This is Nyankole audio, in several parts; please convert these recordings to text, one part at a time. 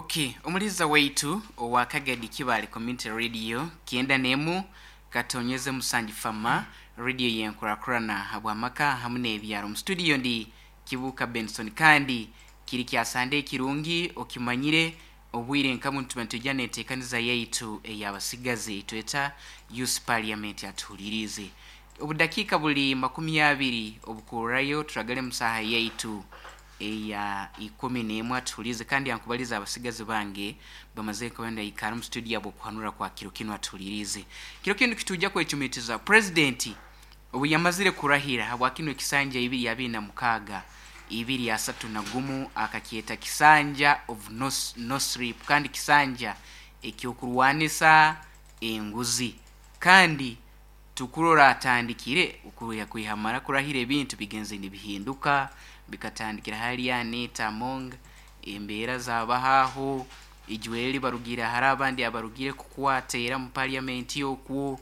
Ok, omuliza waitu owa Kagadi Kibaale Community Radio kyenda n'emu katonyeze musanju fama radio yenkurakurana habw'amaka hamu n'ebyaro. Omu studio ndi Kibuuka Benson kandi kiri kya Sande ekirungi okimanyire obwire nka bunu tuba nitwija n'enteekaniza yaitu ey'abasigazi eitweta Youth Parliament atuhuliriize. Obudakiika buli makumi abiri obukurrayo turagale mu saaha yaitu eya ikumi n'emwe atuhuliize kandi ankubalize abasigazi bange bamazire kuba nibaikara omu studio habw'okuhanura kwa kiro kinu atuhuliriize. Kiro kinu kitwija kwecumitiza Purezidenti obu yamazire kurahira habwa kinu ekisanja ibiri abiri na mukaaga ibiri asatu na gumu akakyeta kisanja of no, no sleep kandi kisanja eky'okurwanisa enguzi kandi Tukurora atandikire okuruhya kwihamara kurahira ebintu bigenze nibihinduka bikatandikira hali Anita Among embeera zabaho aho ijweri barugire hare abandi abarugire kukwata era mu parliament okwo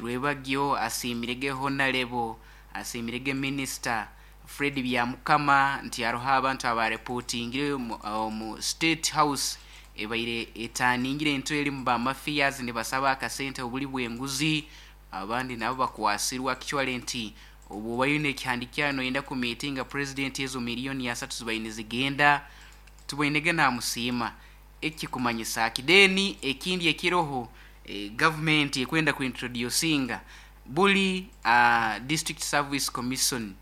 Rwebagyo asiimirege Honarebo asiimirege Minister Fred Byamukama nti haroho abantu aba reportingire omu State House ebaire etaningire entwe erimu ba mafias nibasaba akasente obuli bwenguzi abandi nabo bakwasirwe actually nti obwoba oine ekihandikyayo noyenda ku meetinga president ezo million asatu zibaire nizigenda tuboinege namusiima eki kikumanyisa ki? Then ekindi ekiroho government ekwenda ku introducinga Buri District Service Commission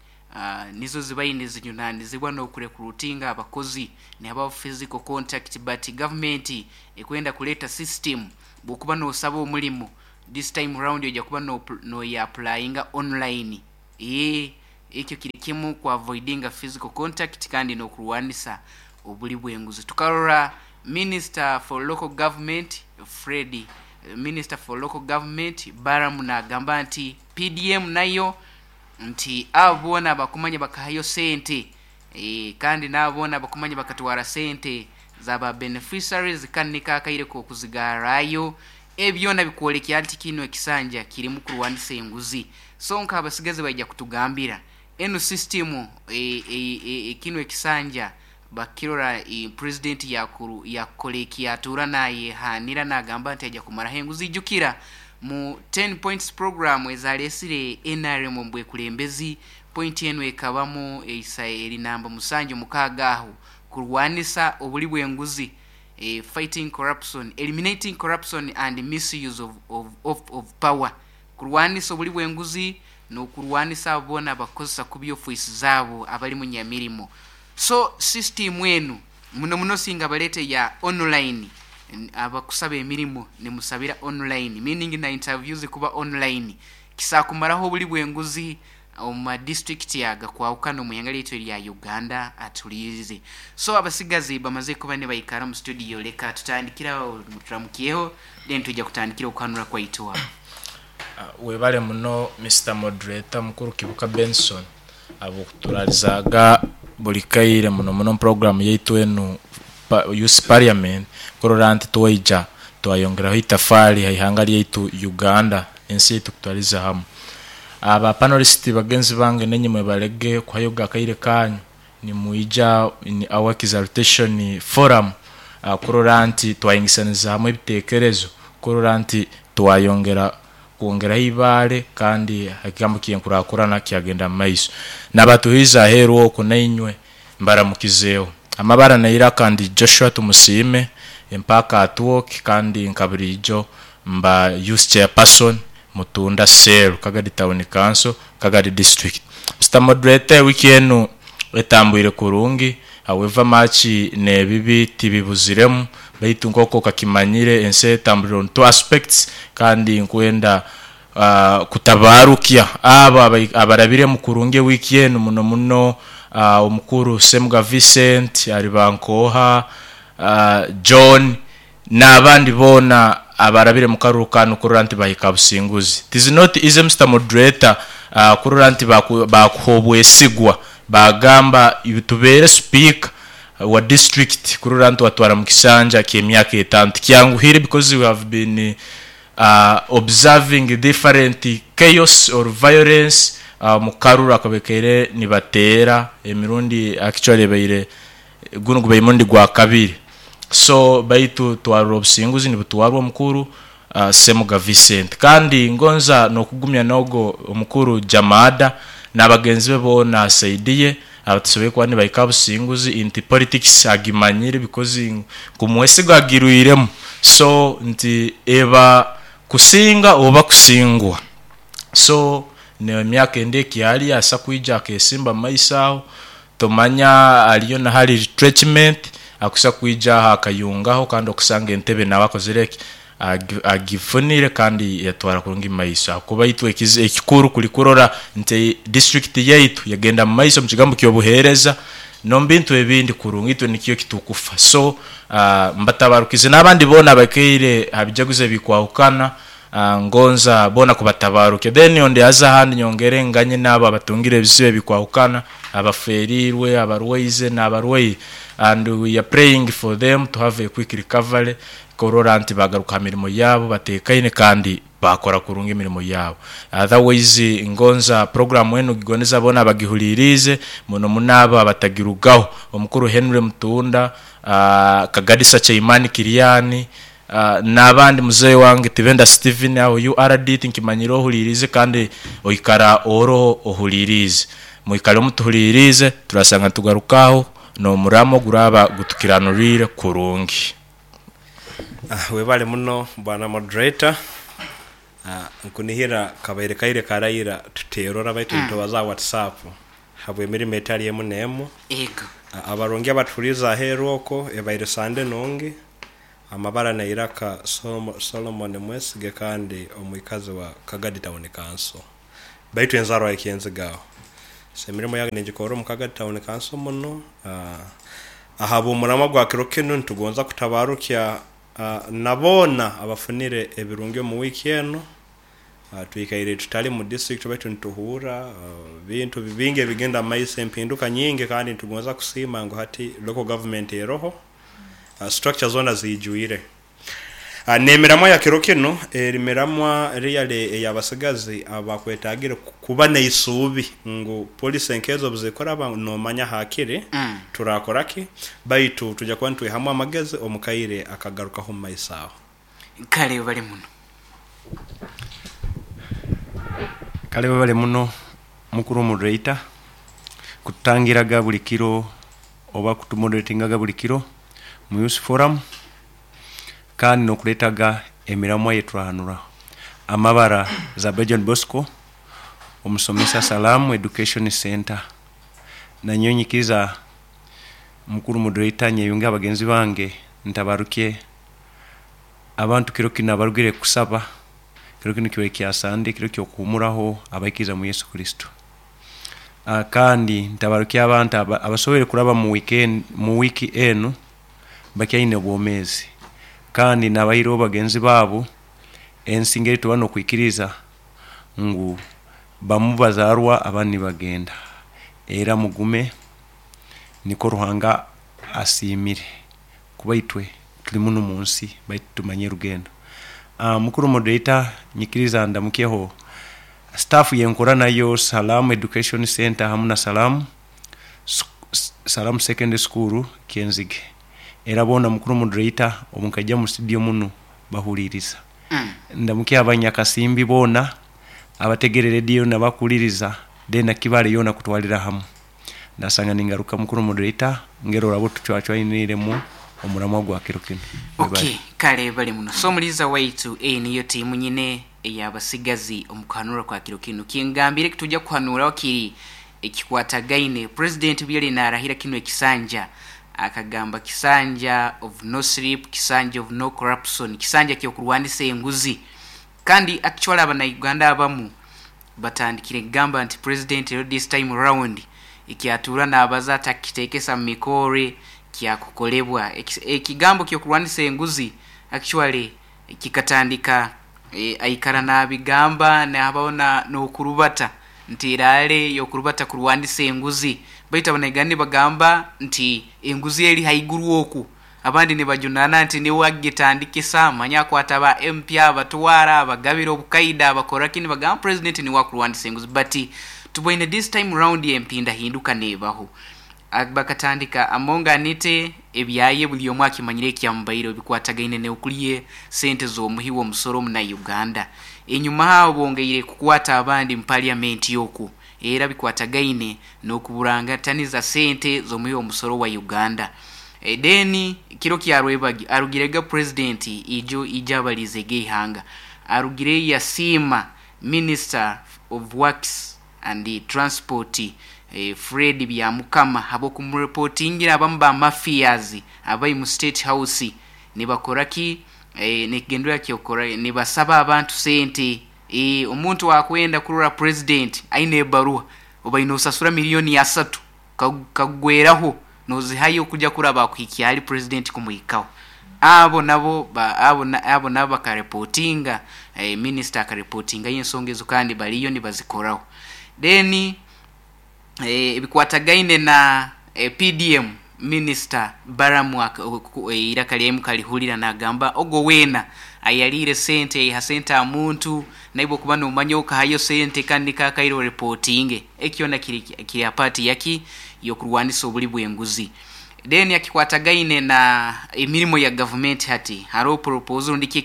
nizo zibaire nizijunanizibwa n'okurecruitinga abakozi nihabaho physical contact but government ekwenda kureeta system bwokuba nosaba omurimo this time round oija kuba noya applyinga online eeh ekyo kiri kimu ku avoidinga physical contact kandi n'okurwanisa oburi bw'enguzi. Tukarora Minister for Local Government Fred Minister for Local Government Balaam nagamba nti PDM nayo nti abo boona abakumanya bakahayo sente kandi naabo boona abakumanya bakatwara sente za ba beneficiaries kanu niko akaire kokuzigarrayo. Ebi byona bikwolekya nti kinu ekisanja kirimu kurwanisa enguzi. So nk'abasigazi baija kutugambira enu system kinu ekisanja Bakirora Purezidenti yakukora eki yatuura nayehaanira nagamba nti aija kumaraho enguzi. Ijukira mu Ten Points Program ezaresire nrm omu bwekulembezi, pointi enu ekabamu eisa eri namba musanju mukaaga aho, kurwanisa obuli bw'enguzi, fighting corruption, eliminating corruption and misuse of, of, of, of power, kurwanisa obuli bw'enguzi n'okurwanisa abo boona abakukozesa kubi ofiisi zaabo abali munyamirimo. So system enu muno muno singa baleta eya online abakusaba emirimo nimusabira online meaning na interview zikuba online kisakumaraho obuli bwenguzi omu ma district agakwahukana omu ihanga lyaitu erya Uganda atuliirize. So abasigazi bamaze kuba nibaikara omu studio leka tutandikire aho turamukyeho then twija kutandikira okuhanura kwaitu aho. Webale muno Mister Moderator Mukuru Kibuka Benson. Ahabw'okuturaarizaaga buri kaire muno muno omu puroguraamu yaitu enu Youth Parliament kurora nti twaija twayongeraho itafaari ha ihanga ryaitu Uganda n'ensi yaitu kutwariza hamu. Ba panelist bagenzi bange nainye mwebarege kuhayoga akaire kanyu nimwija in our exaltation forum kurora nti twahingisaniza hamu ebitekerezo kurora nti twayongera kwongeraho eibaare kandi ekigambo ky'enkurakurana kyagenda mu maiso. Nabatuhiize aheeru okwo nainywe mbaramukizeeho. Amabara n'eiraka ndi Joshua Tumusiime, Empaka at work kandi nka buriijo mba Youth Chairperson Mutunda Cell, Kagadi Town Council, Kagadi District. Mister Moderator ewiki enu etambwire kurungi however much n'ebibi tibibuziremu Baitu nk'oku okakimanyire, ensi etambulira on two aspects, kandi nkwenda kutabarukya abo abarabiremu kurungi ewiiki enu muno muno omukuru Ssemuga Vincent, Aribankooha John n'abandi boona abarabire mu karuru kanu kurora nti bahika ha businguzi. It is not easy Mister Moderator kurora nti bakuha obwesigwa bagamba tubeere sipiika wa district kurora nti watwara mu kisanja ky'emyaka etaano tikyanguhire because we have been observing different chaos or violence omu karuru akabekaire nibateera emirundi actually ebaire gunu gubaire murundi gwa kabiri. So baitu twarora obusinguzi nibutwarwa omukuru Ssemuga Vincent. Kandi ngonza n'okugumya n'ogo omukuru Jamada n'abagenzi be boona saidi ye abatasoboire kuba nibahika aha businguzi nti politics agimanyire because nkumwesiga agirwiremu. So nti eba kusinga oba kusingwa. So n'emyaka endi ekyali asa kwija akesimba mu maiso aho, tomanya aliyo na hali retrenchment akusa kwija aho akayungaho kandi okusanga entebe nawe akozire ki? Agifunire kandi yatwara kurungi mu maiso ahakuba itwe ekikuru kuli kurora nti disiturikiti yaitu yagenda mu maiso omu kigambo ky'obuheereza n'omu bintu ebindi kurungi itwe nikyo ekitukufa. So mbatabarukize n'abandi boona abaikaire ha bijaguzo ebikwahukana Ngonza boona kubatabarukia. Then ondi aze ahandi nyongere nganye n'abo abatungire ebizibu ebikwahukana, abaferiirwe, abarwaize n'abarwaire and we are praying for them to have a quick recovery kurora nti bagaruka ha mirimo yaabo batekaine kandi baakora kurungi emirimo yaabo. Otherwise ngonza program enu gigondeza boona abagihuliriize muno muno abo abatagirugaho. Omukuru Henry Mutunda, Kagadisa Chaimani Kiriani, N'abandi muzeeyi wange Tibenda Steven aho URD tinkimanyire ohuliiriize kandi oikara oroho ohuliiriize. Mwikale mutuhuliiriize turasanga nitugaruka aho n'omuramo oguraaba gutukiranuriire kurungi. Webale muno bwana moderator. Nkunihira kabaire kaire karaira tuterora baitu nitubaza aha WhatsApp habw'emirimo etali emu n'emu. Ego. Abarungi abatuhuriize aheeru okwo ebaire Sande nungi. Amabara n'eiraka Solomon Mwesige kandi omwikazi wa Kagadi Town Council baitu enzarwa ya Kyenziga aho. So emirimo yange ningikorra omu Kagadi Town Council muno. Ahabw'omuramwa gwa kiro kinu nitugonza kutabarukya na boona abafunire ebirungi omu wiiki enu. Twikaire tutali mu district baitu nituhurra bintu bingi ebigenda mu maiso, empinduka nyingi kandi nitugonza kusiima ngu hati local government eroho. Structure zoona ziijwire. N'emiramwa ya kiro kinu eri miramwa really ey'abasigazi abakwetagire kuba n'eisuubi ngu policy nk'ezo obuzikuraba nomanya hakiri turakora ki baitu twija kuba nitwihamu amagezi omu kaire akagarukaho omu maiso aho. Kale webale muno. Kale webale muno mukuru moderator kututangiraga buli kiro oba kutumoderatingaga buli kiro mu youth forum kandi nokuretaga emiramwa eyeturahanuraho. Amabara Zabe John Bosco omusomesa Salaam Education Centre. Nanyowe nyikiriza mukuru moderator nyeyunge ha bagenzi bange ntabarukye abantu kiro kinu abarugire kusaba, kiro kinu kibaire kya Sunday kiro kyokuhumuraho abaikiriza mu Yesu Kristo. Kandi ntabarukye abantu abasoboire kuraba mu weekend, mu wiiki enu bakyaine obwomeezi kandi nabaireho bagenzi baabo ensi ngeri tuba nokwikiriza ngu bamu bazarwa abandi nibagenda era mugume nikwo Ruhanga asiimire kuba itwe tuli munu munsi baitu tumanye rugendo. Mukuru moderator nyikiriza ndamukyeho staff yenkora nayo Salaam Education Centre hamu na Salaam Salaam Secondary School Kyenzige. Era boona mukuru moderator obu nkaija mu studio munu bahuririza. Ndamukye abanyakasimbi boona abategere radio nabakuhuririza then na Kibale yoona kutwarira hamu. Nasanga ningaruka mukuru moderator ngeri oraba otucwacwainiiremu omuramwa gwa kiro kinu. Ok, Webale. kale bali muno. So omuliiza waitu, eyo niyo tiimu nyine ey'abasigazi omu kuhanura kwa kiro kinu. Kingambire ekitujja kuhanuraho kiri ekikwatagaine. President obu yali narahira kinu ekisanja, akagamba kisanja of no sleep, kisanja of no corruption, kisanja ky'okurwanisa enguzi. Kandi actually abanauganda abamu batandikire kugamba nti president rero this time round ekyatuura nabaza atakitekesa mu mikoore kyakukolebwa. Ekigambo ky'okurwanisa enguzi actually kikatandika aikara nabigamba nahabaho n'okurubata nti eraale y'okurubata kurwanisa enguzi. Baitu abanauganda nibagamba nti enguzi eri haiguru oku. Abandi nibajunaana nti niwe agitandikisa, manya akwata ba MP abatwara, abagabira obukaida, abakora ki, nibagamba Purezidenti niwe akurwanisa enguzi but tuboine this time round empindahinduka nebaho. Bakatandika Among Anite ebyaye buri omwe akimanyire ekyamubaireho bikwatagaine n'okurya sente z'omuhi w'omusoro omuna Uganda. Enyuma aho bongeire kukwata abandi mu parliament okwo era bikwatagaine n'okuburangataniza sente z'omuhi w'omusoro wa Uganda. Then kiro kya rwebagyo arugirega president ijo ijo abariizege eihanga arugireyo yasiima minister of works and Transport Fred Byamukama habw'okumurepotingira abamu ba mafias abari mu State House nibakora ki nekigendererwa ky'okukora nibasaba abantu sente omuntu akwenda kurora President aine ebaruha obaire nosasura million asatu kagweraho nozihayo kuja kuraba akuhikya ahari President kumuhikaho abo nabo abo nabo bakarepotinga Minister akarepotingayo ensonga ezo kandi bariyo nibazikoraho then ebikwatagaine na PDM Minister Balaam eiraka ryaye mukarihurira nagamba ogwo weena ayariire sente yaiha sente aha muntu naiwe okuba nomanya okahayo sente kandi niko akaire orepotinge ekyo kyona kiri aha part yaki yokurwanisa oburi bwenguzi. Then akikwatagaine na emirimo ya gavumenti hati haroho proposal rundi ki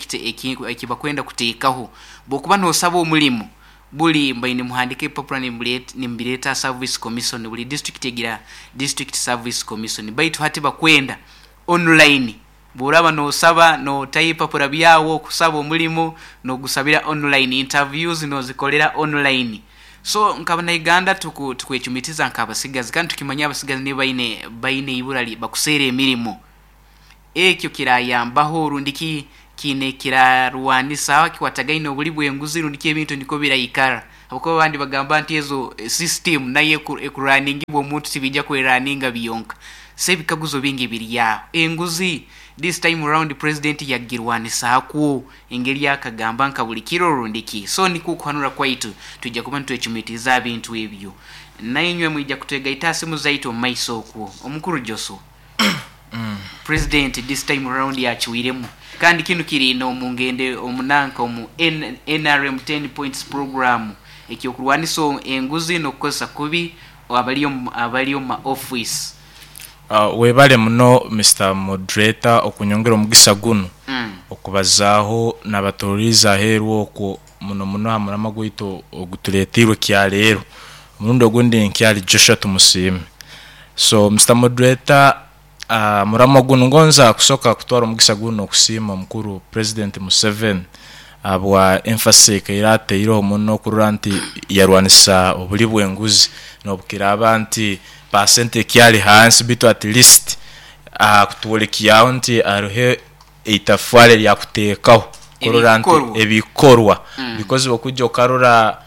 ekibakwenda kuteekaho bwokuba nosaba omurimo Buri mbaire nimuhandika ebipapura nimubireeta aha Service Commission, buri district egira District Service Commission baitu hati bakwenda online. Bworaba nosaba notayo ebipapura byawe okusaba omurimo nogusabira online, interviews nozikorera online. So nk'abanauganda tukwecumitiza nk'abasigazi kandi tukimanya abasigazi nibo baine baine eibura bakuseera emirimo. Ekyo kirayambaho rundi ki kiine kirarwanisa abakikwatagaine oburi bw'enguzi rundi ki ebintu nikwo biraikara? Habwokuba abandi bagamba nti ezo system nayo ekuraningibwa omuntu tibiija kweraninga byonka. So ebikaguzo bingi biri aho. Enguzi this time round president yagirwanisakwo engeri akagamba nka buri kiro rundi ki? So nikwo okuhanura kwaitu twija kuba nitwecumitiriza aha bintu ebyo. Nainywe mwija kutwegaita aha simu zaitu omu maiso okwo. Omukuru Joshua. President this time round yakiwiremu kandi kinu kiri nomu ngende omu nanka omu nrm ten points program ekyokurwanisa enguzi nokukozesa kubi abali abali omu ma office. Webale muno Mister Moderator okunyongera omugisa gunu okubazaaho nabatururiize aheeru okwo muno muno aha muramwa gwaitu ogutureteirwe kyaleero. Omurundi ogundi nkyari Joshua Tumusiime. So Mister Moderator, aha muramwa gunu ngonza kusoka kutwara omugisa gunu okusiima omukuru President Museveni ahabwa emphasis ekaire ateireho muno kurora nti yarwanisa obuli bw'enguzi nobukiraaba nti percent ekyari hansi beitu at least akutworekyaho nti hariho eitafari eryakuteekaho kurora nti Ebikorwa. ebikorwa because okwija okarora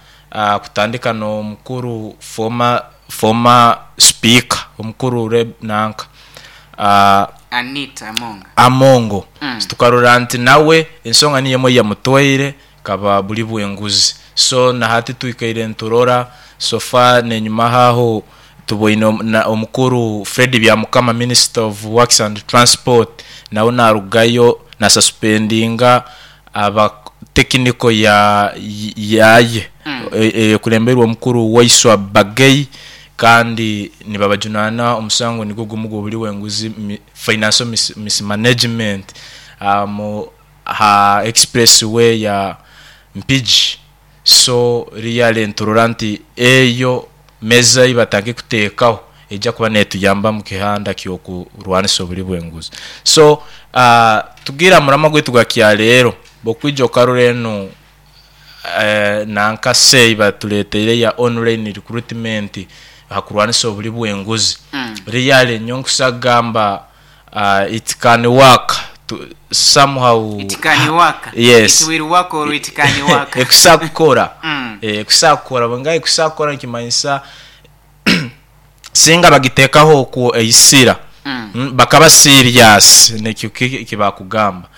kutandika n'omukuru former former speaker omukuru Reb nanka Anita Amongo. Amongo tukarora nti nawe ensonga niyo emwe eyamutwaire kaba buri bw'enguzi so nahati twikaire niturora so far n'enyima aho tuboine omukuru Fred Byamukama minister of works and transport nawe narugayo na suspendinga aba technical ya yaye ekulembeirwe omukuru Waiswa Bagei kandi nibabajunana omusango nigwo gumu gw'oburi bw'enguzi financial mismanagement mu aha express way ya Mpigi. So really niturora nti eyo meza ei batandikire kuteekaho eija kuba neetuyamba omu kihanda ky'okurwanisa oburi bw'enguzi. So tugiire aha muramwa gwaitu gwa kyareero, bw'okwija okarora enu nanka say ei batureeteire eya online recruitment aha kurwanisa oburi bw'enguzi, really nyowe nkusa kugamba It can work to somehow. It can work. Yes. It will work or it can work. Ekusa kukora. Ekusa kukora. Bwenga ekusa kukora nikimanyisa singa bagitekaho okwo eisira bakaba serious nekyo ekibakugamba.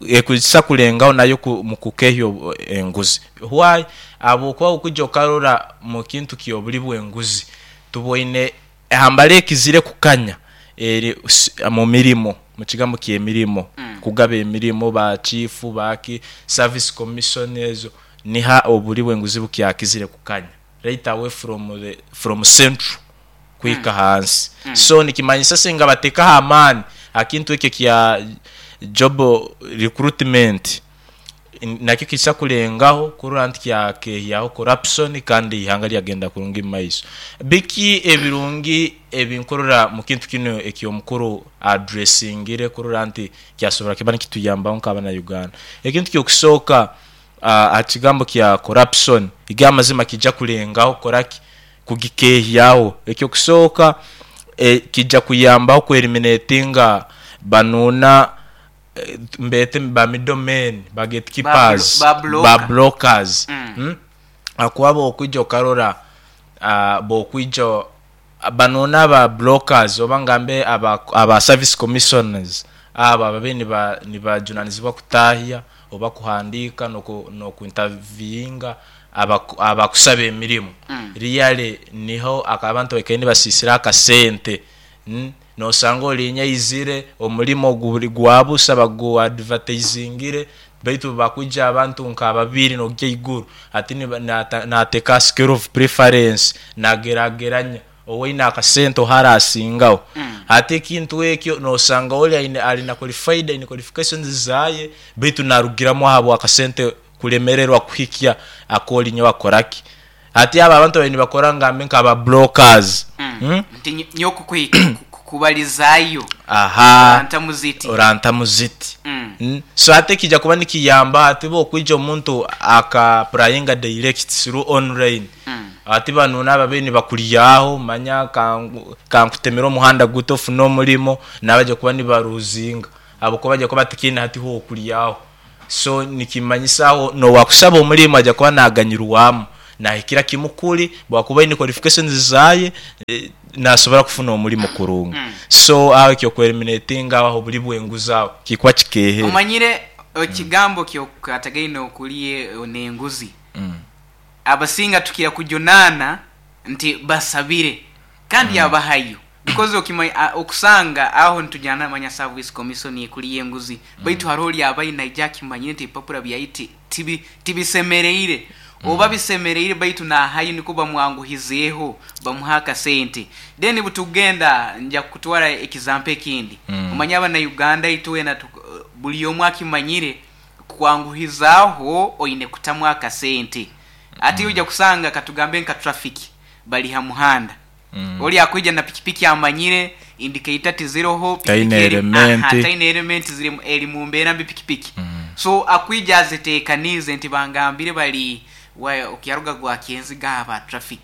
Ekusa kulengaho nayo mukukehya enguzi. Why? Ahabwokuba okwija okarora mukintu kyobuli bwenguzi tuboine Ehambara ekizire kukanya eri mu mirimo, mu kigambo ky'emirimo, kugaba emirimo, ba chiifu, baaki, service commission ezo, niho obuli bw'enguzi bukyakizire kukanya right away from the, from central. kuhika ahansi. So nikimanyisa singa bateekaho amaani aha kintu ekyo ekya job recruitment, nakyo kiija kurengaho kurora nti kyakehyaho corruption kandi eihanga ryagenda kurungi omu maiso. Biki ebirungi ebinkurora mu kintu kinu eky'omukuru addressingire kurora nti kyasobora kiba nikituyambaho nk'abana Uganda? Ekintu ky'okusooka aha kigambo kya corruption, igo amazima kija kurengaho kukoraki? Kugikehyaho. Eky'okusooka kija kuyambaho ku eliminatinga banuuna mbeete ba middle men, ba gate keepers, ba blockers ahakuba bwokwija okarora bwokwija banuuna aba blockers oba ngambe aba service commissioners abo ababaire nibajunanizibwa kutahya oba kuhandiika noku interviewinga abakusaba emirimo really niho abantu baikaire nibasisira akasente. Nosanga oriinya aizire, omurimo guri gwa busa bagu advertisingire baitu bakwija abantu nka babiri nogya eiguru hati nateka aha scale of preference nagerageranya owaine akasente oha arasingaho. Hati ekintu ekyo nosanga ori aine ari na qualified aine qualifications zaye baitu narugiramu ahabwa akasente kuremererwa kuhikya akorinya wakoraki. Hati abo abantu ababaire nibakora ngambe nka ba brokers. Nti nyowe kukubalizaayo Aha. orantamu ziti. Orantamu ziti. So hati ekija kuba nikiyamba hati bwokwija omuntu aka applyinga direct through online, hati banu nababaire nibakuryaho manya kankutemere omuhanda guti ofune omurimo, nabaija kuba nibaruzinga ahabwokuba baija kuba batakiine hati hokuryaho. So nikimanyisa aho nowakusaba omurimo aija kuba naganyirwamu nahikira kimu kuri bwakuba aine qualifications zaye nasobora kufuna omurimo kurungi. So aho ekyoku eliminatinga aho oburi bwenguzi aho kikuba kikehere. Omanyire ekigambo kyokukwatagaine okuri nenguzi, abasinga tukira kujunaana nti basabire kandi yabahayo because okimanya okusanga aho nitujana manya service commission ekuriyo enguzi baitu haroho ori abaire naija akimanyire nti ebipapura byaye tibisemereire oba bisemereire baitu nahayo nikwo bamwanguhizeeho bamuhe akasente then butugenda nja kukutwara example ekindi omanye abana Uganda itwena buri omwe akimanyire kukwanguhizaaho oine kutamu akasente. Hati oija kusanga katugambe nka traffic bari ha muhanda, ori akwija na pikipiki amanyire indicator tiziroho, pikipiki Taine eri aha elementi. taine elementi ziri eri mu mbeera mbi pikipiki. So akwija azeteekaniize nti bangambire bari wa okyaruga gwa Kyenziga aha ba traffic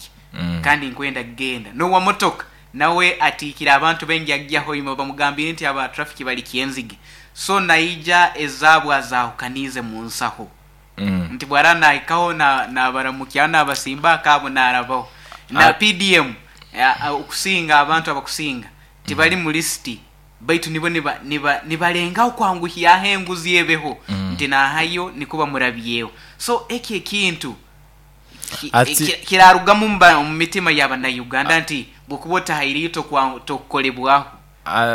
kandi nkwenda kugenda. N'owa motoka nawe atiikire abantu baingi agya Hoima bamugambire nti aba traffic bari Kyenzige. So naija ezaabu azahukaniize mu nsaho. Nti bw'araba naahikaho naabaramukyaho naabasimba akaabo naarabaho. Na PDM okusinga abantu abakusinga tibari mu lisiti baitu nibo nibarengaho kwanguhyaho enguzi ebeho nti naahayo nikwo bamurabyeho. So ekyo ekintu kirarugamu omu mitima ya banauganda nti bwokuba otahaireyo tokukorebwaho.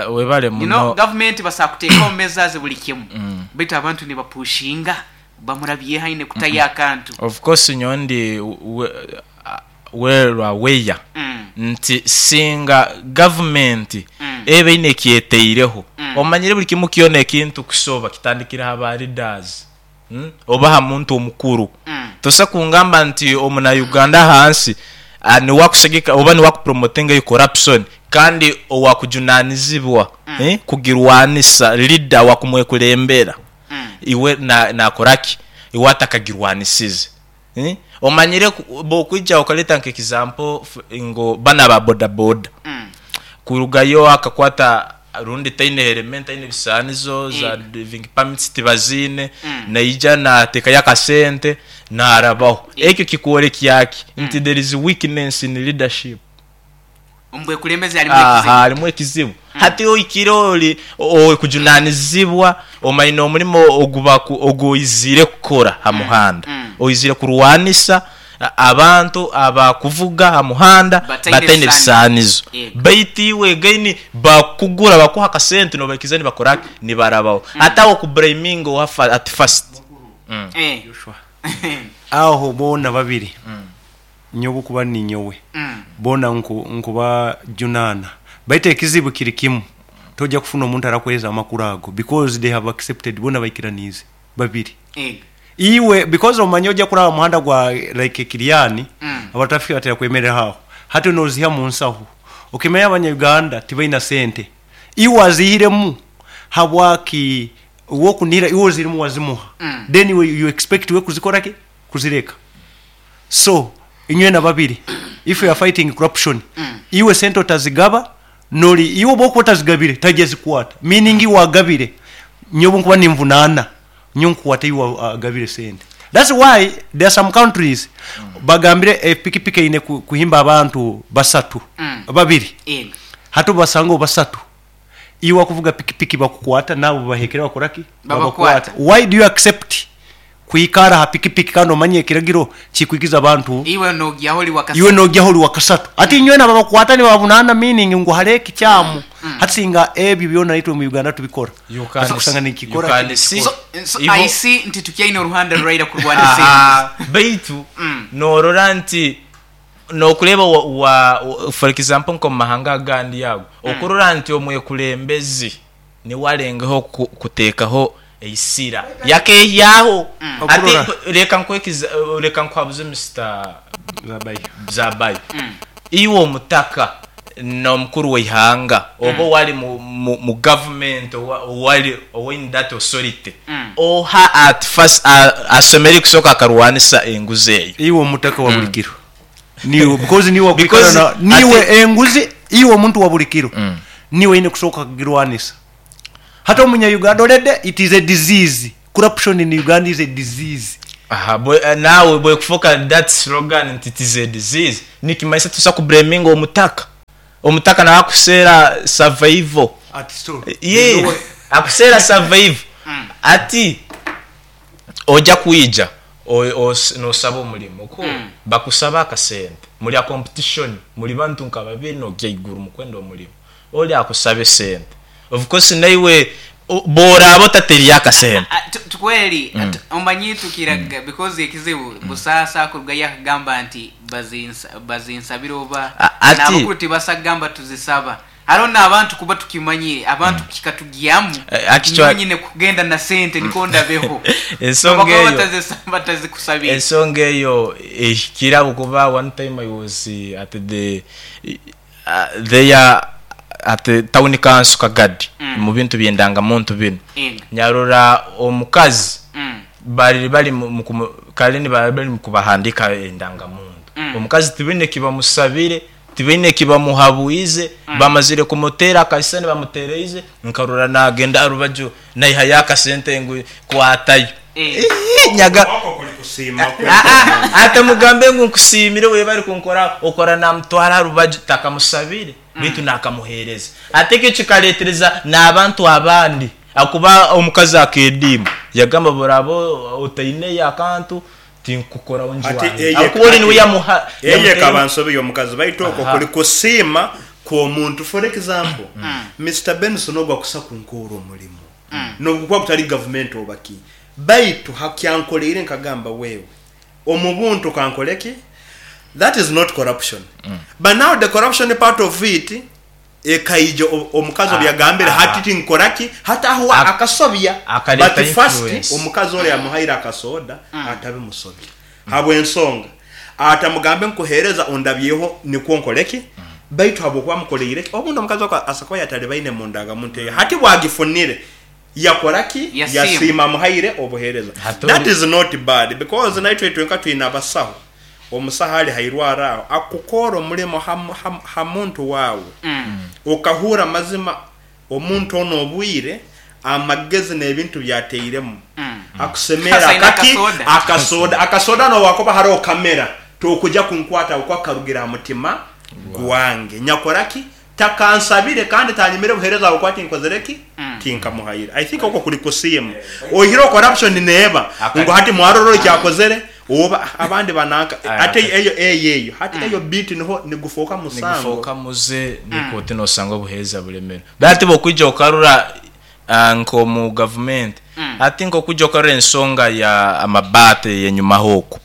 Webale You know, muno. gavumenti basobola kuteekaho measures buli kimu baitu abantu nibapushinga bamurabyeho aine kutayo akantu. Of course nyowe ndi well aware nti singa gavumenti eba eine ekyeteireho, omanyire buli kimu kyona ekintu kusoba kitandikira ha ba leaders. Oba aha muntu omukuru. Tosa kungamba nti omuna Uganda ahansi niwe akusagika oba niwe akupromotinga eyo corruption kandi owakujunanizibwa kugirwanisa leader wakumwekulembera iwe nakoraki? Iwe atakagirwanisize. Omanyire bwokwija okaleta nka example ngu banu aba bodaboda kurugayo akakwata rundi taine helmet taine bisaanizo za driving permits tibaziine naija nateekayo akasente narabaho. Ekyo kikworekya ki? Nti there is weakness in leadership. Omu bwekulembeze harimu ekizibu. Aha harimu ekizibu. Hati oikire ori owekujunanizibwa omaine omurimo ogu oiziire kukora ha muhanda. Oiziire kurwanisa abantu abakuvuga ha muhanda Bataine bataine bisaanizo. bisaanizo. Yego. Baitu iwe again bakukugura bakuha akasente nobaikiriza nibakora ki? Nibarabaho. Hati aho okublaminga oha at first? Eh. Aho boona babiri. Nyowe kuba ninyowe boona nkubajunaana baitu ekizibu kiri kimu toja kufuna omuntu arakuhereza amakuru ago because they have accepted boona baikiraniize babiri iwe because omanya oja kuraba muhanda gwa like Kiriani aba traffic batera kwemerera aho hati noziha munsaho okimanya abanya Uganda tibaina sente iwe wazihiremu habwaki iwe okunihira iwe ozirimu wazimuha then iwe you expect we kuzikoraki kuzireka so inywena babiri if you are fighting corruption iwe sente otazigaba nori iwe obwokuba otazigabire taija zikwata meaning iwe agabire nyowe obunkuba ninvunana nyowe nkukwata iwe agabire sente that's why there are some countries bagambire epikipiki eine kuhimba abantu basatu babiri hati obubasanga basatu iwe akuvuga pikipiki bakukwata naabo babahekere bakoraki Babakwata. Babakwata why do you accept kwikara aha pikipiki kandi omanye ekiragiro kikwikiza abantu Iwe nogyaho ori wakasatu. Iwe nogyaho ori wakasatu. Hati inywena babakwata nibabunana meaning ngu hariho ekikyamu. Hati singa ebyo byona naitwe omu Uganda tubikora. You can Hati kusanga you nikikora can see So, so ibo- I see nti tukyaine oruhanda ruraira kurwanisa Aha, enguzi. baitu norora nti nokureba wa, wa, for example nko mumahanga agandi ago okurora nti omwekulembezi niwe arengeho kutekaho eisira yakehyaho ati Okurora. reka nkwekiza reka nkuhabuze Mr. Zabayo. Zabayo iwe omutaka n'omukuru w'eihanga oba owari mu government owari owaine that authority oha at first asomere kusooka akarwanisa enguzi eyo. Iwe omutaka wa buli kiro. Niwe because niwe wakwikara Because na niwe ati- enguzi iwe omuntu wa buli kiro. Niwe oine kusooka kugirwanisa. Hati omunya Uganda already it is a disease. Corruption in Uganda is a disease. Aha, nawe bwekufuuka that slogan nti it is a disease nikimanyisa tusa kublaminga omutaka. Omutaka nawe akuseera survival. Ati so. Ye, akuseera survival. Ati oja kwija nosaba omurimo ku bakusaba akasente muri a competition muri bantu nka babiri nogya iguru mukwenda omurimo ori akusaba esente of course naiwe boraba otateriyo akasente. Tukweri omanyi tukiraga because ekizibu busaasa akurugayo akagamba nti bazinsabira oba Ati n'abakuru tibasagamba tuzisaba. Hariho n'abantu kuba tukimanyire abantu kikatugyamu nyine kugenda na sente niko ndabeho. Ensonga Bakaba eyo batazikusabira. Ensonga eyo ehikire ahabw'okuba one time I was at the there at the town council Kagadi mu bintu by'endangamuntu binu. Nyarora omukazi bari bari mu kare ni bari bari mu kubahandika endangamuntu. Omukazi tibine kibamusabire tibine kibamuhabuize bamazire kumutera akasente bamutereize nkarora nagenda arubaju naiha yakasente ngu kwatayo. Nyaga Wako kuli kusiima kwe. Ate mugambe ngu nkusiimire we bari kunkora okora namutwara rubaju takamusabire bitu nakamuhereza. Ate ekyo kikaretereza n'abantu abandi akuba omukazi akediima yagamba burabo otaine akantu tinkukoraho nju Ati wange. eye Akuba ori niwe yamuha, eye yamuteera. kaba nsobi y'omukazi baitu okwo kuli kusiima kw'omuntu. For example, Mr. Benson ogwo akusa kunkoora omurimo nobukuba kutali government obaki baitu hakyankoleire nkagamba wewe omu buntu kankoleki that is not corruption. But now the corruption part of it ekaija omukazi obyagambire hati tinkoraki hati aho akasobya. Akaleta But first influence. omukazi ori yamuhaire akasoda atabimusobya habw'ensonga atamugambe nkuhereza ondabyeho nikwo nkoleki baitu habwokuba mukoleire obundi omukazi oko asakuba yatali baine mu ndangamuntu eyo hati bwagifunire yakoraki Yasiima. yasiima amuhaire obuhereza. Hati That ori- is not bad because naitwe twenka twine abasaho omusaho ari hairwara aho akukora omurimo ha muntu wawe okahura amazima omuntu ono obwire amagezi n'ebintu byateiremu akusemera Kasaina akaki akasoda. akasoda akasoda no wakoba hariho kamera tokuja kunkwata okwa karugira ha mutima gwange nyakoraki takansabire kandi tanyimire buhereza bwo kwati nkozereki tinkamuhaira. I think okwo kuli kusiima ohiro corruption neeba ngo hati mwarororo kyakozere oba abandi bananka ate eyo eyo eyo hati eyo beat niho nigufoka musango nigufoka muze niko tinosanga obuheereza buremera bati bokwija okarura nko mu government ati nko kujja okarura ensonga ya amabate yenyuma hoko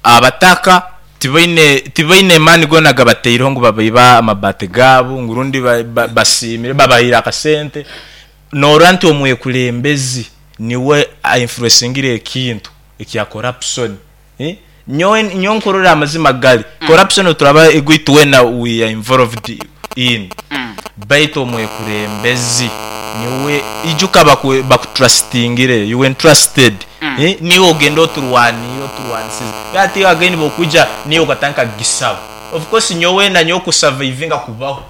abataka Tibaine tibaine maani goona agabateireho ngu babaibe amabaati gaabo ngu rundi basiimire babahaire akasente. Noorora nti omwekurembezi niwe a influencingire ekintu ekya corruption. Nyowe nyowe nkurora amazima gari, corruption oturaba ego itwena we are involved in baitu omwekurembezi niwe ijuka baku bakutrustingire, you were entrusted, niiwe ogenda oturwaniire oturwanisize. Hati again bwokwija niiwe okatandika kugisaba. Of course nyowe nanyowe ku survivinga kubaho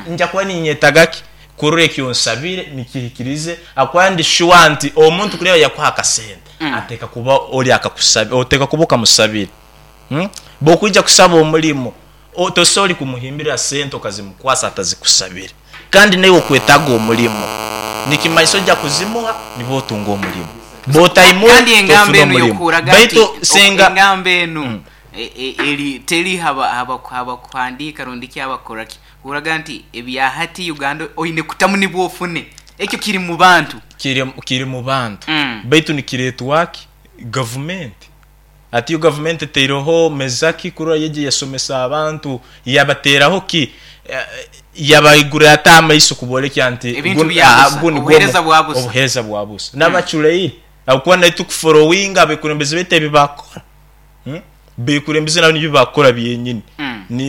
nja kuba ninyetaga ki? Kurora eki onsabire nikihikirize ahakuba ndi sure nti omuntu kureba yakuha akasente ateekwa kuba ori akakusabire oteekwa kuba okamusabire. Bwokwija kusaba omurimo tosobola kumuhimbirira sente okazimukwasa atazikusabire kandi naiwe okwetaaga omurimo nikimanyisa oija kuzimuha nibwo otunga omurimo bwotayimuha Kandi engamba tofuna enu omurimo y'okuhuraga nti baitu singa engamba enu eri teri habakuhandiika rundi ki habakukora ki Hurraga nti ebya hati Uganda oine kutamu nibwo ofune. Ekyo kiri mu bantu. Kiri mu bantu baitu nikireetwa ki? Gavumenti. Hati yo gavumenti etaireho meza ki kurora yaija yasomesa abantu, yabateeraho ki? Yabaigurira ata amaiso kuborekya nti Ebintu bya busa, gunu nigwo obuheereza bwa busa. obuheereza bwa busa. N'abacureire ahabw'okuba naitwe tukuforowinga abekurembezi baitu ebi baakukora. Bekurembeze nabo nibyo bakukora byenyini.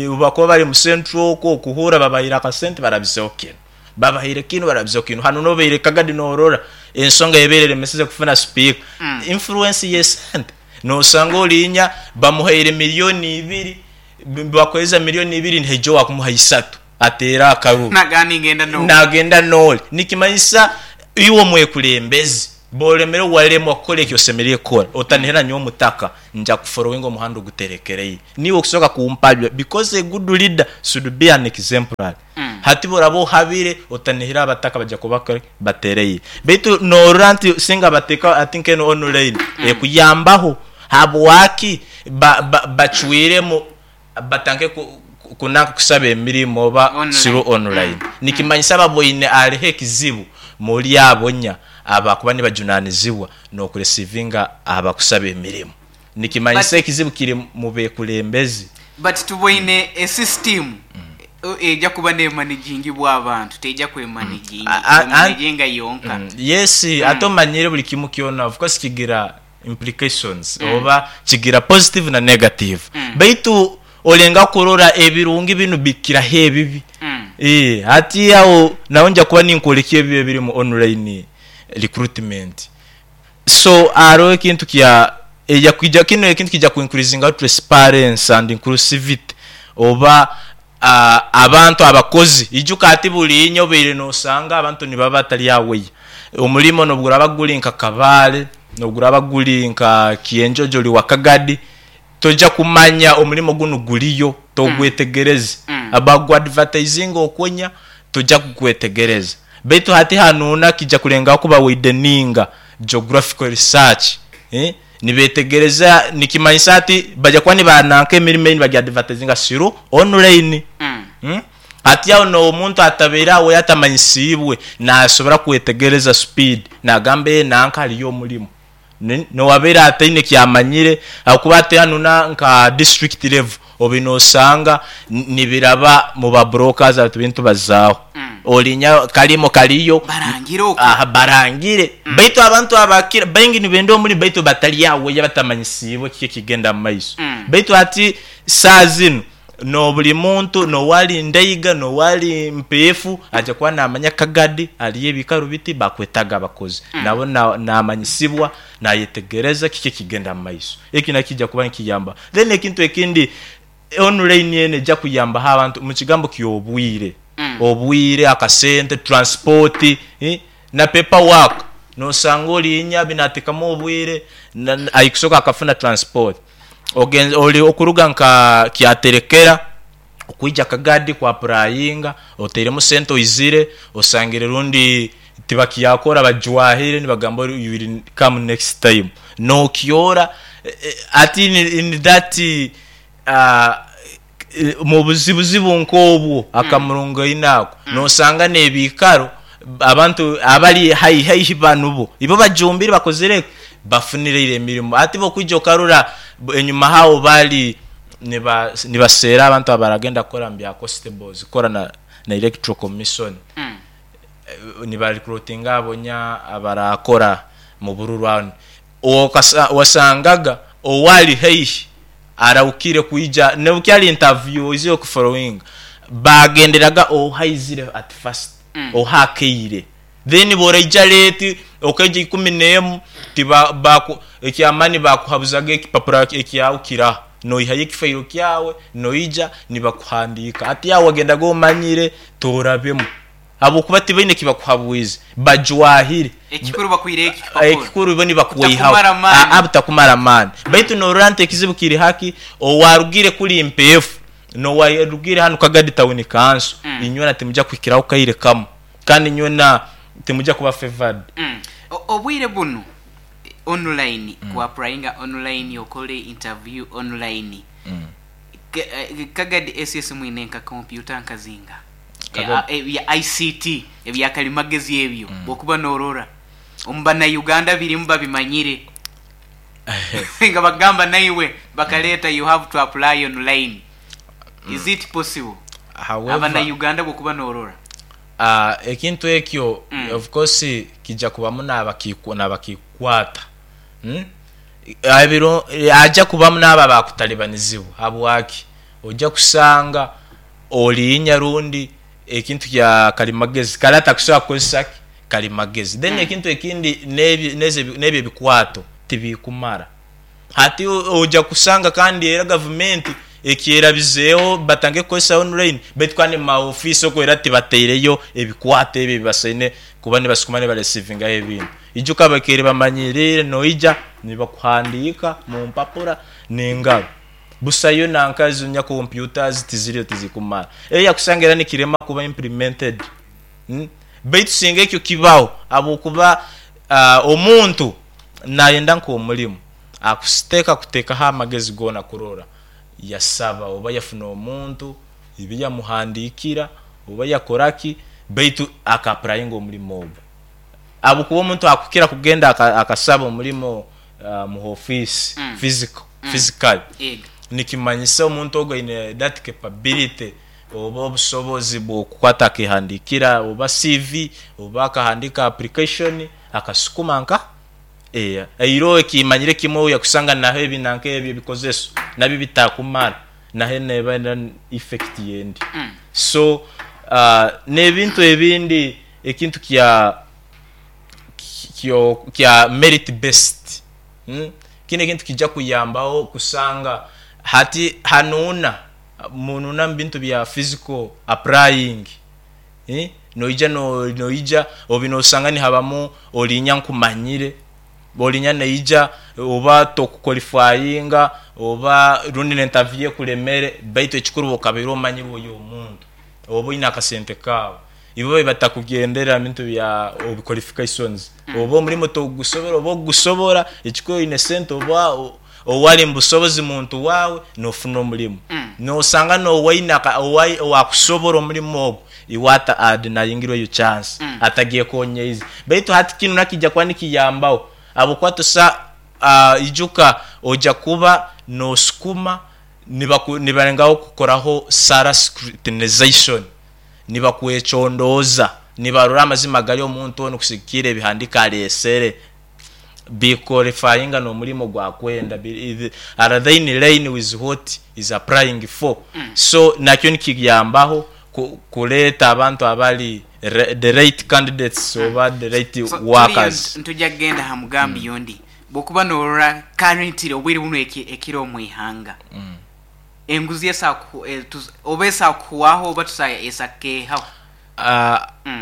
Obu bakuba bari omu central okwo okuhurra babahaire akasente barabizeho kinu, babahaire kinu barabizeho kinu. Hanu nobaire Kagadi norora ensonga ebaire eremeseze kufuna sipiika, influence y'esente. Nosanga orinya bamuhaire milioni ibiri, bakuhereza milioni ibiri nihaija owakumuha isatu ateere akaruru. Nagenda nori. Nikimanyisa iwe omwekurembezi Bw'oremire waremwa kukora eki osemereire kukora, otanihira nyowe omutaka nja kuforowinga omuhanda oguterekereire. Niiwe okusoka kumpabya because a good leader should be an exemplary. Hati bw'oraba ohabire otanihira abataka baija kuba batereire. Baitu norora nti singa bateka hati nk'enu online ekuyambaho habwaki bacwiremu batandike kunanka kusaba emirimo oba through online. Nikimanyisa baboine hariho ekizibu muri abo nya abakuba nibajunanizibwa nokuresivinga abakusaba emirimo. Nikimanyisa ekizibu kiri mubekurembezi. But tuboine esisitimu eija kuba nemanejingibwa abantu, teija kwemanejinga yonka. Yes, ate omanyire buri kimu kyona of course kigira implications oba kigira positive na negative baitu olenga kurora ebirungi binu bikiraho ebibi hati aho naho nja kuba ninkwolekya ebibi ebiri mu online recruitment so haroho ekintu kya eja kwija kinu ekintu kija ku increasingaho transparency and inclusivity oba Abantu abakozi, ijuka hati buri obaire nosanga abantu nibaba batari aware. Omurimo nobuguraba guri nka Kabale, nobuguraba guri nka Kienjojo ori wa Kagadi, toija kumanya omurimo gunu guriyo, togwetegereze. Bagu advertisinga okwonya, toija kugwetegereza. Baitu hati hanuuna kija kurengaho kuba wideninga geographical research. Nibetegereza nikimanyisa ati baja kuba nibananka emirimo ei nibagiadvertisinga through online. Hati aho n'omuntu atabaire aho we atamanyisiibwe nasobora kwetegereza speed nagamba ee nanka hariyo omurimo. N'owabaire ataine kyamanyire ahakuba hati hanu na nka district level Obu nosanga nibiraba mu ba brokers aba tubaire nitubazaaho. Orinya karimo kariyo, Barangire okwo. aha barangire. Baitu abantu abakira baingi nibenda omurimo baitu batari aware batamanyisiibwe kiki ekigenda mu maiso. Baitu hati saaha zinu noburi muntu nowari Ndaiga nowari Mpeefu aija kuba namanya Kagadi hariyo ebikaro biti bakwetaga abakozi. Nabo namanyisibwa nayetegereza kiki ekigenda mu maiso. Eki nakyo kija kuba nikiyamba. Then ekintu ekindi, online eno eja kuyambaho abantu mu kigambo ky'obwire, obwire, akasente, transport na paper work. Nosanga orinya binatekamu obwire aikusoka akafuna transport. Ogenze ori okuruga nka Kyaterekera okwija Kagadi ku apurayinga, otairemu sente oizire, osangire rundi tibakyakora bajwahire nibagamba you will come next time. Nokyora hati in that mu buzibuzibu nk'obwo akamurungaine ako, nosanga n'ebiikaro abantu abari haihi haihi banu bo, ibo bajumbire bakozire ki? Bafunireire emirimo. Hati bwokwija okarora enyuma haawo baali. Niba nibaseera abantu abaragenda kukora mu bya constables kukora na na electoral commission. Niba recruitinga abo nya abarakora mu bururu aho. Okasa wasangaga owali haihi arahukire kwija nobu kyali interview oizire okufollowinga bagenderaga ohaizire at first oha akaire then bworaija late okaija ikumi nemu tiba baku ekyamani bakuhabuzaga ekipapura ekyawe kiraha noihayo ekifairo kyawe noija nibakuhandika hati aho wagendaga omanyire torabemu habwokuba tibaine kibakuhabwize bajwahire. Ekikuru bakwireho eki kipapura. Ekikuru bo nibakweihaho. Kutakumara amaani. Aa butakumara amaani. Baitu norora nti ekizibu kiri haki owarugire kuri Mpeefu nowarugire hanu Kagadi Town Council inywena timuja kuhikiraho kaire kamu kandi inywena timuja kuba favored. Obwire bunu online ku applyinga online okole interview online Kagadi SS mwine nka computer nka zinga? Ebya ICT ebya kalimagezi ebyo bwokuba norora omu banauganda birimu babimanyire nga bagamba naiwe bakaleta you have to apply online is it possible abanauganda bwokuba norora. Ekintu ekyo of course kija kubamu nabakikukwata Haja kubamu naabo abakutalibanizibwa. Habwaki? Oja kusanga oriinya rundi ekintu kya kalimagezi kare atakusobora kukozesa ki? Kalimagezi. Then ekintu ekindi n'ebyo ebikwato tibikumara. Hati oja kusanga kandi era gavumenti ekyerabizeeho batandike kukozesa online baitu kandi mu ma ofiisi okwo era tibataireyo ebikwato ebyo ebibasaine kuba nibasukuma nibaresiivingaho ebintu. Ijuka bakaire bamanyiriire noija nibakuhandiika mu mpapura n'engaro. Busayo nanka ezo nya computers tiziriyo tizikumara. Eyo okusanga era nikirema kuba implemented. Baitu singa ekyo kibaho habwokuba omuntu nayenda nk'omurimo akuteeka kuteekaho amagezi goona kurora yasaba oba yafuna omuntu ebi yamuhandiikira oba yakora ki baitu aka applyinga omurimo ogwo. Habwokuba omuntu akukira kugenda akasaba omurimo mu ofiisi physical, physically, nikimanyisa omuntu ogwo aine that capability oba obusobozi bw'okukwata akehandiikira oba CV oba akahandiika application akasukuma nka Eiroho ekimanyire kimwe oya kusanga naho ebi nanka ebyo ebikozeso nabyo bitakumara naho neba era effect yendi. So n'ebintu ebindi ekintu kya kya merit based kinu ekintu kija kuyambaho kusanga hati hanuuna munuuna mubintu bya physical applying. Noija noija obi nosanga nihabamu oriinya nkumanyire, oriinya naija oba tokukolifayinga oba rundi n'entaviyu ekuremere baitu ekikuru iwe okabaire omanyirwe ori omuntu oba oine akasente kaawe. Ibo batakugendera mu bintu bya qualifications oba omurimo tokugusobora oba okugusobora ekikuru oine sente oba owari omu busobozi muntu waawe nofuna omurimo. Nosanga n'owaine owakusobora omurimo ogwo iwe ata adenayingirwe eyo chance atagyekonyeize. Baitu hati kinu nakija kuba nikiyambaho habwokuba tosa ijuka oja kuba nosukuma nibalengaho kukoraho thorough scrutinization, nibakwecondooza nibarora amazima agari omuntu onu kusigikirra ebihandiko aresere biqualifyinga n'omurimo ogu akwenda, are they in line with what is applying for? So nakyo nikiyambaho kureeta abantu abari the right candidates oba the right So turiyo workers. nituja kugenda aha mugambi ondi. Bwokuba norora currently obwire bunu ekiri omu ihanga, enguzi oba esobola kuhwaho oba esobola kukeehaho?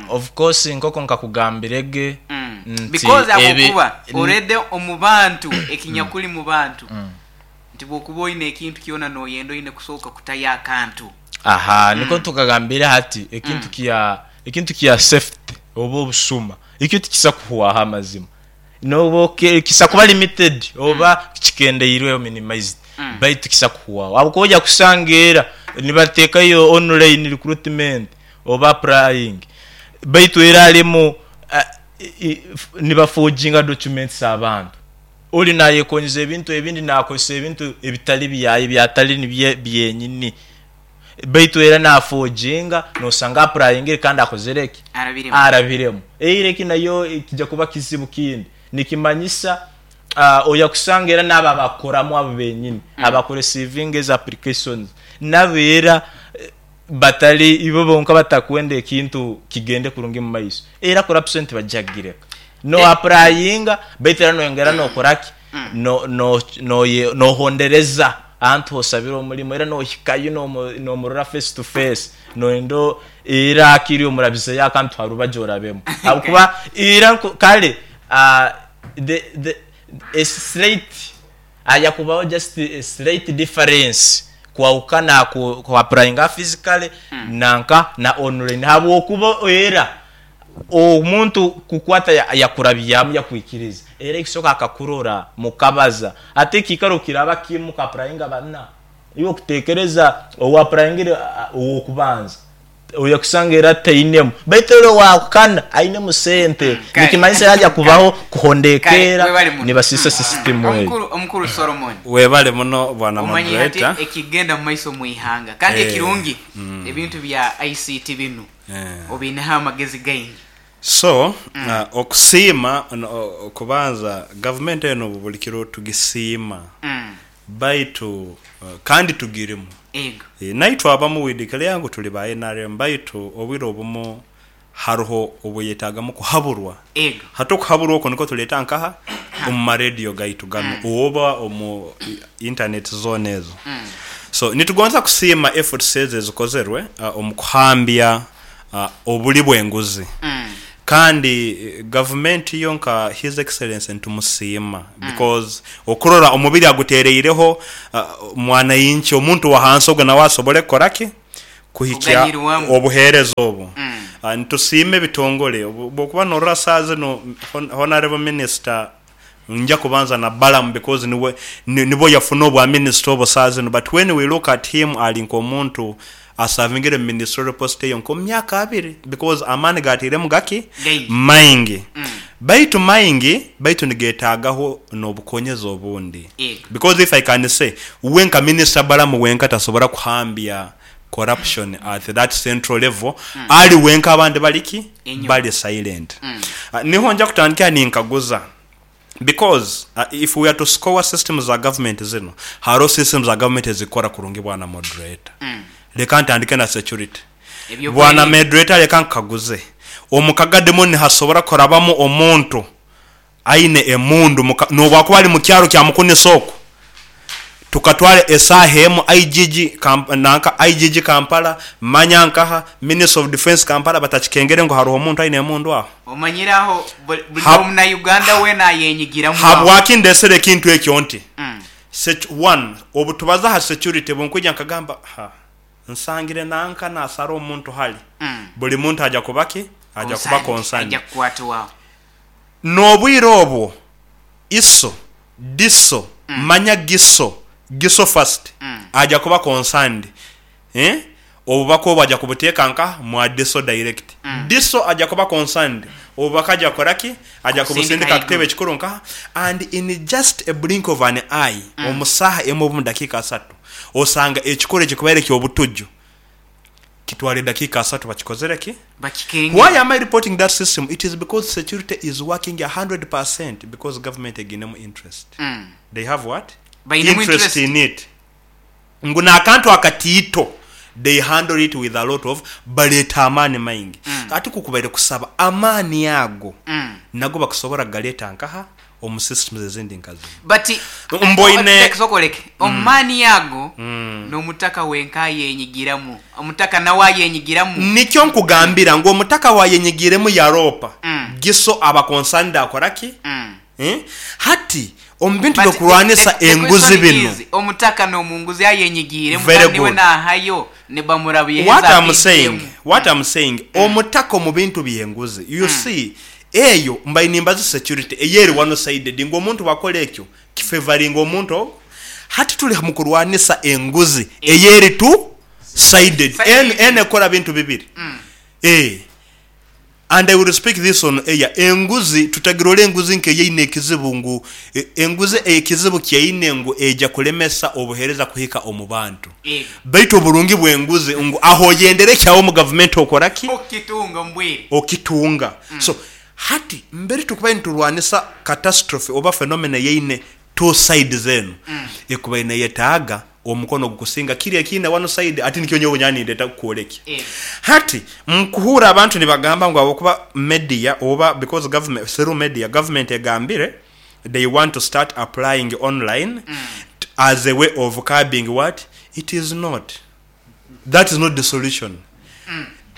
Of course nk'oku nkakugambirege nti Because ahabw'okuba already omu bantu ekinyakuli mu bantu nti bw'okuba oine ekintu kyona noyenda oine kusooka kutayo akantu. Aha nikwo tukagambire hati ekintu kya ekintu kya safety oba obusuma ekyo tikisa kuhwaho amazima nobu kisa kuba limited oba kikendeirweho, minimized, baitu tikisa kuhwaho ahabw'okuba oja kusanga era nibatekayo online recruitment oba applying baitu era harimu nibafoginga documents abantu. Ori naayekonyeza ebintu ebindi naakozesa ebintu ebitari byaye, ebyatari nibye byenyini. Baitu era naafoginga, noosanga apurayingire kandi akozire ki? Arabiremu. Arabiremu. Eira eki nayo kija kuba kizibu kindi. Nikimanyisa oya kusanga era n'abo abakukoramu abo benyini, abakuresiivinga ezo applications, nabo era batari ibo bonka batakwenda ekintu kigende kurungi omu maiso, era corruption tibaija kugireka. No applyinga baitu era noyongera nokora ki? No no nohondereza ahantu hosabire omurimo era nohikayo nomurora face to face noyenda era hakiri omurabizeyo akantu harubaju orabemu ahabw'okuba era kare the the a slight Hajakubaho just a slight difference kwahukana aha ku applyinga physically nanka na online habwokuba era omuntu kukwata yakurabyamu yakwikiriza era ekisoka akakurora mukabaza hati ekikaro kiraba kimu muka applyinga bana iwe okutekereza owa applyingire owokubanza Oya kusanga era tainemu. Baitu ori owakana ainemu sente. Kale. Nikimanyisa haja kubaho kuhonda Kale, eka era webale muno. nibasiisa sisitimu eyo. Omukuru, omukuru Solomon. Webale muno bwana Omanyire hati moderator. ekigenda mu maiso mu ihanga. Kandi Eh, ekirungi ebintu bya ICT binu Eh. obiineho amagezi gaingi. So, okusiima, okubanza gavumenti eno buli kiro tugisiima. Baitu kandi tugirimu. Ego. Naitwe abamu we declare ngu tuli ba nrm baitu obwire obumu haroho obweyetagamu kuhaburwa. Ego. Hati okuhaburwa okwo nikwo tuleeta nkaha? Omu ma radio gaitu ganu oba omu internet zoona ezo. So nitugonza kusiima efforts ezo ezikozerwe omu kuhambya obuli bw'enguzi. Kandi gavumenti yo nka His Excellency nitumusiima because okurora omubiri agutereireho mwananchi omuntu wahansi ogwo nawe asobole kukora ki? Kuhikya Kuganyirwamu. obuhereza obu. Nitusiima ebitongole obwokuba norora saaha zinu Honourable Minister nja kubanza na Balaam because niwe nibwo yafuna obwa minister obwo saaha zinu but when we look at him ari nk'omuntu asavingire mu ministerial post eyo nk'omu myaka abiri because amaani gatairemu gaki? Gaingi. Maingi. Baitu maingi baitu nigetagaho n'obukonyezi obundi Ego. because if I can say we nka minister Balaam wenka tasobora kuhambya corruption at that central level ali wenka abandi bali ki? Enyuma. Bali silent. Niho nja kutandikira ninkaguza because if we are to score systems za government zinu, haroho systems za government ezikukora kurungi bwana moderator. Leka ntandike na security. Bwana Ebyokwerinda. moderator leka nkukaguze, omu Kagadi munu nihasobora kurabamu omuntu aine emundu muka nobwakuba ali mukyaro kya Mukunisa oku, tukatwara esaaha emu IGG nanka IGG Kampala, manya nkaha, Ministry of Defence Kampala batakikengere ngu haroho omuntu aine emundu aho? Omanyire aho buli Omunauganda weena ayenyigiramu aho. Habwaki ndesere ekintu ekyo nti, one, obutubaza ha security bunkwija nkagamba, ha, nsangire nanka nasara omuntu hali, buli muntu aja kuba ki? Aja kuba Concerned, aija concerned. kukwatwaho. N'obwire obwo iso, diso, manya giso, giso first, aja kuba concerned eh, obubaka obwo aja kubuteeka nka mwa diso direct. Diso aja kuba concerned, obubaka aja kukora ki? Aja Kubusindika kubusindika aha kitebe haiguru. ekikuru nkaha and in just a blink of an eye, omu saaha emwe oba omu dakiika asatu, osanga ekikorwa ekikubaire eky'obutuju Kitwara edakiika asatu bakikozere ki? Bakikengere. Why am I reporting that system? It is because security is working 100% because government eginemu interest. They have what? Bainemu Interest interest. in it. Ngu n'akantu akatiito they handle it with a lot of baleeta amaani maingi. Ati kukubaire kusaba amaani ago nago bakusobora kugaleeta nkaha? Omu systems ezindi nka zinu. But Mboine. Soka oleke. Omu maani ago n'omutaka wenka ayenyigiramu. Omutaka nawe ayenyigiramu. Nikyo nkugambira ngu omutaka wayenyigiremu yaroopa, Giso aba concerned akora ki? Hati omu bintu But by'okurwanisa the enguzi question binu. is, omutaka n'omunguzi ayenyigiiremu Very kandi niwe good. nahayo nibamurabya What his am saying, ATM. what am saying, omutaka omu bintu by'enguzi, you see, eyo mbaire nimbaza security eyo eri one sided ngu omuntu bwakora ekyo kifevaringa omuntu ogwo. Hati turi mu kurwanisa enguzi eyo eri two sided. Sided. Eno, eno ekora bintu bibiri. Eeh. And I will speak this on air, enguzi tutagirora enguzi nk'eyaine ekizibu ngu enguzi ekizibu kyaine ngu eija kulemesa obuhereza kuhika omu bantu. Baitu oburungi bw'enguzi ngu aho oyendera ekyawe omu gavumenti okora ki? Okitunga omu bwire. Okitunga. So hati mbere tukubaire niturwanisa catastrophe oba phenomena eyaine two sides enu, ekubaire neyetaaga omukono ogukusinga kiri ekiine one side ati nikyo nyowe nyowe nindeta kukworekya. Hati nkuhuura abantu nibagamba ngu ahabwokuba media oba because government through media government egambire they want to start applying online as a way of curbing what? It is not. That is not the solution.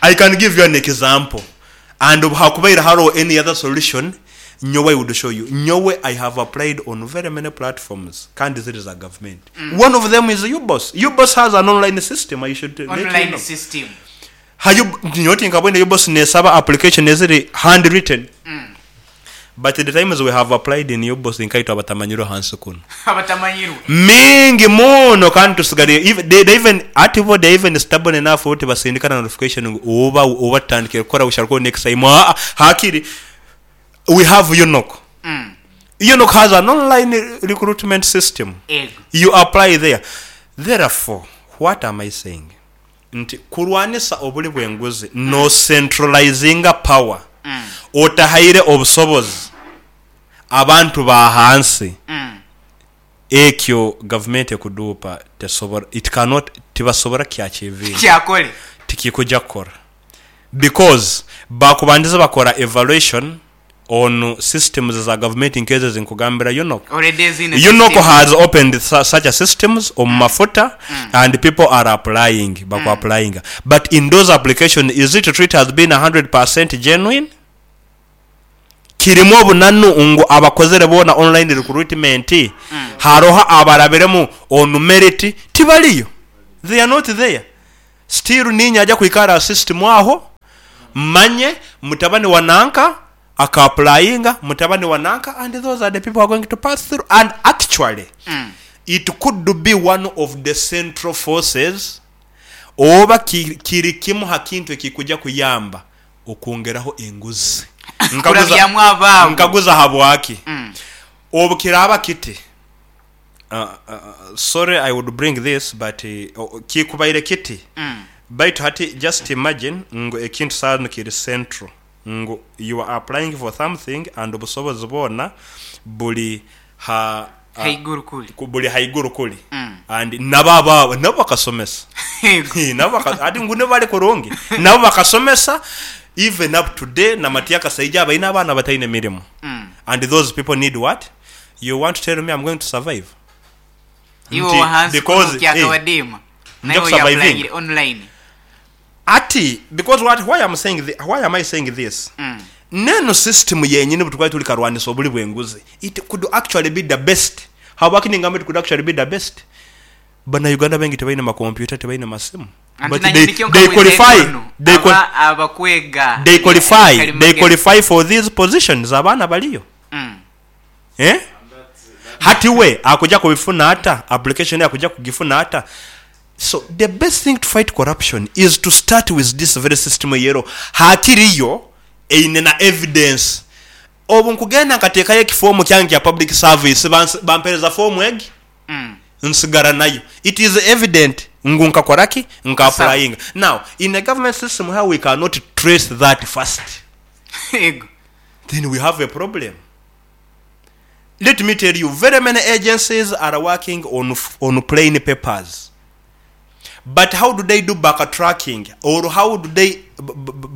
I can give you an example and obu hakubaire haroho any other solution nyowe I would show you. Nyowe I have applied on very many platforms kandi ziri za government. One of them is UBOS. UBOS has an online system I should let you Online know. system. Ha nyowe tinkabwine UBOS nesaba application eziri hand written. But the times we have applied in UBOS nkaitwe abatamanyirwe hansi kunu. Abatamanyirwe. Mingi muno kandi tusigariire even they even hati bo they even stubborn enough bo tibasindika na notification ngu oba oba tutandikire kukora we shall call next time aa hakiri we have UNOC. UNOC has an online recruitment system. Ego. You apply there. Therefore what am I saying? Nti kurwanisa obuli bw'enguzi no centralizinga power otahaire obusobozi abantu ba hansi ekyo gavumenti ekuduupa tesobora it cannot tibasobora kukyachivinga Kyakole. tikikuja kukora because bakubandize bakora evaluation on systems za gavumenti nkezo ezinkugambira UNOC. Already eziine UNOC system. has opened such a systems omu mafuta and people are applying, baku applyinga but in those application is it true it has been 100% genuine? Kirimu obunanu ngu abakozere boona online recruitment haroho abarabiremu on merit? Tibariyo, they are not there. Still niinye aja kwikara aha system aho mmanye mutabani wa nanka aka applyinga, mutabani wa nanka and those are the people who are going to pass through and actually it could be one of the central forces oba kiri kimu ha kintu ekikuja kuyamba okwongeraho enguzi. Nkaguza Kurabyamu abaabo. Nkaguza habwaki? Obu kiraaba kiti, sorry I would bring this but kikubaire kiti, baitu hati just imagine ngu ekintu saaha zinu kiri central ngu you are applying for something and obusobozi bwona buri ha Haiguru kuri. buri haiguru kuri and nabo abaabo nabo bakasomesa nabo baka hati ngu nibo bari kurungi nabo bakasomesa even up to day na Matia Kasaija abaine abaana bataine mirimo and those people need what? You want to tell me I'm going to survive? Iwe Nti owahansi kunu because eh, kyakabadiima nja naiwe kusurvivinga. oyapulayingire online. Ati because what why am saying thi, why am I saying this? Nenu system yenyini bwetukuba turi karwanisa oburi bw'enguzi it could actually be the best. Habwaki ningamba it could actually be the best? Bana Uganda baingi tibaine makompyuta tibaine masimu Anti but nanye they, nikyo they nkakweza qualify enkono they, aba qual, abakwega they qualify they kalimagezi. qualify for these positions abaana bariyo. Eh? Hati we akuja kubifuna ata application akuja kugifuna ata. So the best thing to fight corruption is to start with this very system eyero hakiriyo eine na evidence. Obu nkugenda nkateekayo ekifoomu kyange kya public service bampereza foomu egi nsigara nayo. It is evident ngu nkakora ki? Nka applyinga. Now in a government system how we cannot trace that first. Ego. Then we have a problem. Let me tell you, very many agencies are working on on plain papers. But how do they do backtracking? Or how do they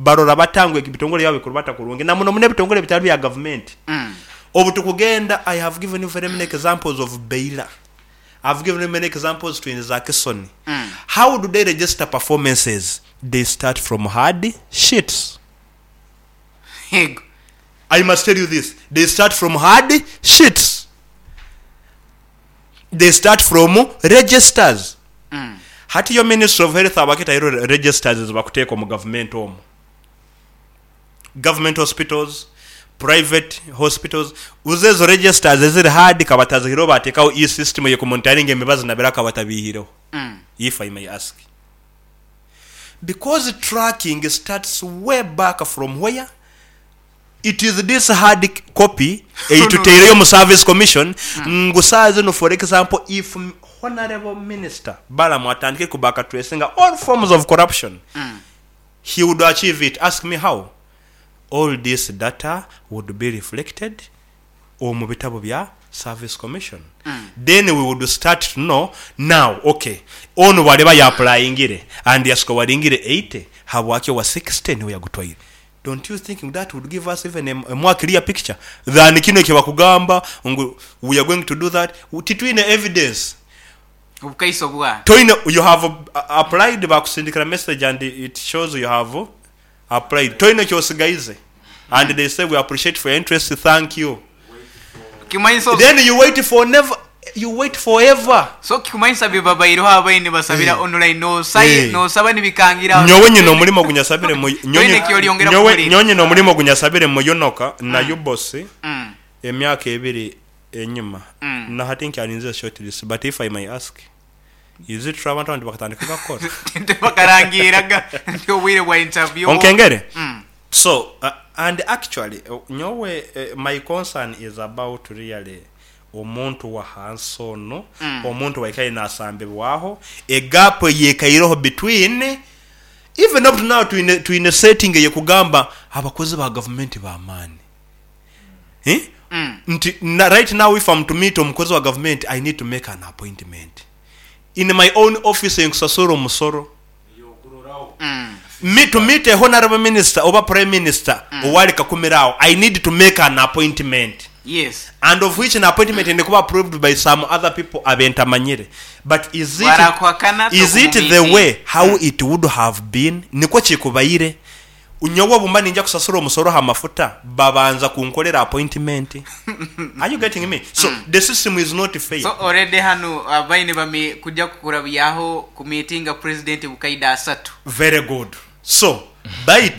barora bata ngu ebitongore byabo bikurubata kurungi? Na muno muno ebitongore bitari bya government. Obu tukugenda, I have given you very many examples of Baylor. I've given you many examples to Nzakisoni. How do they register performances? They start from hard sheets. Ego. I must tell you this. They start from hard sheets. They start from registers. Hati yo Ministry of Health abakitairo registers ezibakuteeka omu government omu. Government hospitals, private hospitals, uze ezo registers eziri hard kabatazihireho bateekaho e-system ey'okumonitaringa emibazi nabira kabatabiihireho. If I may ask. Because tracking starts way back from where? It is this hard copy ei tutaireyo mu Service Commission ngu saaha zinu for example if Honourable Minister Balaam atandike ku back tracinga all forms of corruption he would achieve it. Ask me how? All this data would be reflected omu bitabo bya Service Commission then we would start to know now ok onu bwariba ya applyingire and yasikowaringire 80 habwaki owa 60 niwe yagutwaire? Don't you think that would give us even a more clear picture than kinu ekibakugamba ngu we are going to do that titwine evidence. Obukaiso bwa. Toine you have applied bakusindikira message and it shows you have applied toine kyosigaize and they say we appreciate for your interest thank you Kimanyisa then you wait for never you wait for ever. So kikumanyisa bibabaireho ababaire nibasabira online nosaba nibikangira aho Nyowe nyine omurimo ogu nyasabire mu Toine eki oryongera nyowe kuhurira. nyowe nyine omurimo ogu nyasabire mu UNOCA na UBOS emyaka ebiri enyima na hati nkyarinzire short list but if I may ask is it true abantu abandi bakatandika bakukora? Tibakarangiiraga nti obwire bwa interview. Onkengere? So and actually nyowe my concern is about really omuntu wahansi onu, omuntu owaikaire nasambibwaho, e gap eyekaireho between even up to now twine twine setting eyekugamba abakozi ba gavumenti bamaani eh nti na right now if am to meet omukozi wa gavumenti I need to make an appointment in my own office enkusasura omusoro. Me to meet a honourable minister oba prime minister owari kakumiro aho I need to make an appointment Yes. and of which an appointment eine kuba approved by some other people abentamanyire but is it Bwarakuhakana is it the tokumumiitinga. way how it would have been nikwo kikubaire Nyowe obu mba ninja kusasura omusoro aha mafuta, babanza kunkorera appointment. Are you getting me? So, the system is not fair. So already hanu abaine bami kuja kukurabyaho ku meetinga president bukaida asatu. Very good. So, baitu.